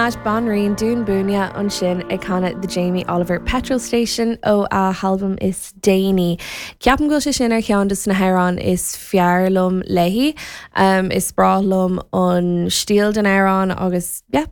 Banríon Dún Búinne ansin ag canadh The Jamie Oliver Petrol Station ó a halbam is déanaí. Ceapaim go bhfuil sé sin ar cheann de na hamhráin is fearr liom léi. Is breá liom an stíl den amhrán agus yeah.